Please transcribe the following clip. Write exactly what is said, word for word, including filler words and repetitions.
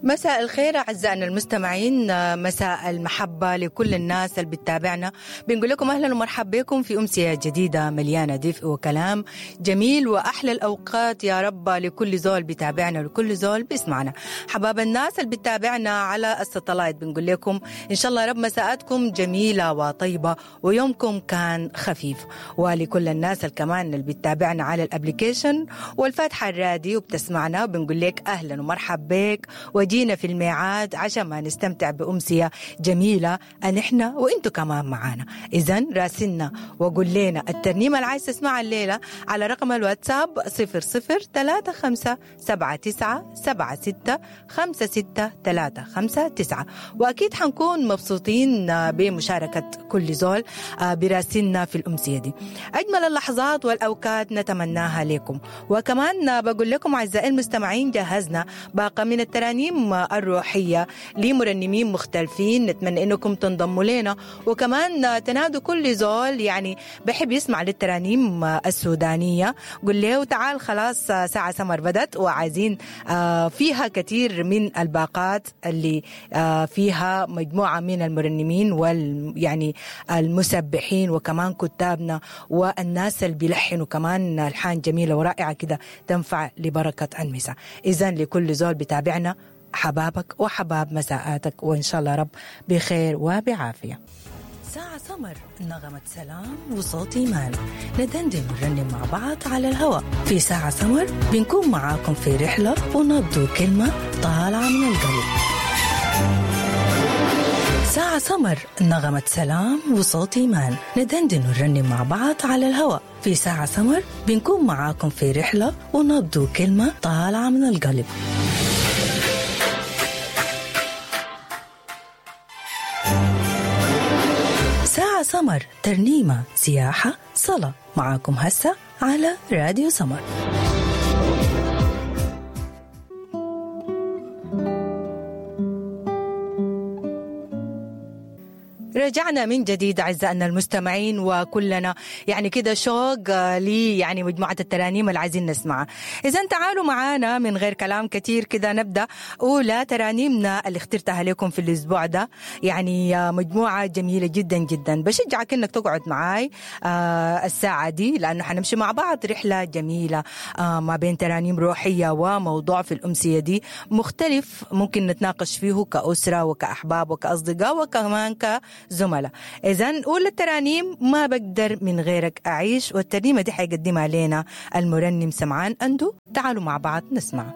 مساء الخير أعزائنا المستمعين، مساء المحبة لكل الناس اللي بتتابعنا. بنقول لكم أهلا ومرحبا بكم في أمسية جديدة مليانة دفء وكلام جميل وأحلى الأوقات يا رب لكل زول بتابعنا ولكل زول بيسمعنا. حباب الناس اللي بتتابعنا على الستلايت بنقول لكم إن شاء الله رب مساءاتكم جميلة وطيبة ويومكم كان خفيف. ولكل الناس اللي كمان اللي بتتابعنا على ال application والفاتحة الراديو وبتسمعنا بنقول لك أهلا ومرحبا بك وجينا في الميعاد عشان ما نستمتع بأمسية جميلة نحن وإنتو كمان معانا. إذن راسلنا وقول لنا الترنيمة اللي عايز تسمعها الليلة على رقم الواتساب صفر صفر ثلاثة خمسة سبعة تسعة سبعة ستة خمسة ستة ثلاثة خمسة تسعة. وأكيد حنكون مبسوطين بمشاركة كل زول براسلنا في الأمسية دي. أجمل اللحظات والأوقات نتمناها لكم. وكمان بقول لكم أعزائي المستمعين جهزنا باقة من الترانيم الروحية لمرنمين مختلفين، نتمنى انكم تنضموا لنا وكمان تنادوا كل زول يعني بحب يسمع للترانيم السودانية، قل له تعال خلاص ساعة سمر بدت وعايزين فيها كثير من الباقات اللي فيها مجموعة من المرنمين وال يعني المسبحين وكمان كتابنا والناس اللي بيلحنوا كمان الحان جميلة ورائعة كده تنفع لبركة المساء. إذن لكل زول بتابعنا حبابك وحباب مساءاتك وإن شاء الله رب بخير وبعافية. ساعة سمر، نغمة سلام وصوت إيمان، ندندن ونرنم مع بعض على الهواء. في ساعة سمر بنكون معاكم في رحلة ونبدو كلمة طالعة من القلب. ساعة سمر، نغمة سلام وصوت إيمان، ندندن ونرنم مع بعض على الهواء. في ساعة سمر بنكون معاكم في رحلة ونبدو كلمة طالعة من القلب. ساعة سمر، ترنيمة، سياحة، صلاة، معاكم هسه على راديو سمر. رجعنا من جديد أعزائنا المستمعين وكلنا يعني كده شوق لي يعني مجموعة الترانيم اللي عايزين نسمعها. إذن تعالوا معانا من غير كلام كتير كده نبدأ أولى ترانيمنا اللي اخترتها لكم في الأسبوع ده، يعني مجموعة جميلة جدا جدا. بشجعك إنك تقعد معاي الساعة دي لأنه حنمشي مع بعض رحلة جميلة ما بين ترانيم روحية وموضوع في الأمسية دي مختلف ممكن نتناقش فيه كأسرة وكأحباب وكأصدقاء وكمان ك زملاء. إذن أولى الترانيم ما بقدر من غيرك أعيش، والترنيمة دي حيقدمها لنا المرنم سمعان أندو. تعالوا مع بعض نسمع.